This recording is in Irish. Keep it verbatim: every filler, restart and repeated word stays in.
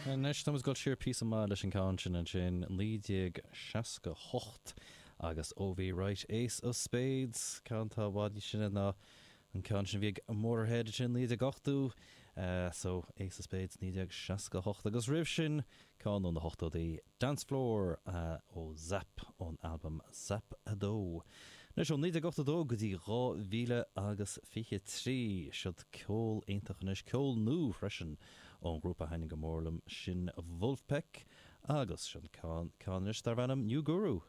Anois táimid ag dul siar píosa maith leis an ceann sin ansin naoi déag seasca hocht agus O.V. Wright Ace of Spades ceann atá i bhfad níos sine ná an ceann sin a bhí ag Motörhead ansin naoi déag ochtó so Ace of Spades naoi déag seasca hocht agus roimh sin ceann ó na hochtóidí Dance Floor ó Zapp ón albam Zapp a dó. Anois ó naoi déag ochtó dó go dtí dhá mhíle agus fiche trí siod ceol iontach anois, ceol nua freisin ón ghrúpa a thaitníonn go mór liom sin Vulfpeck agus sin ceann anois darb ainm New Guru.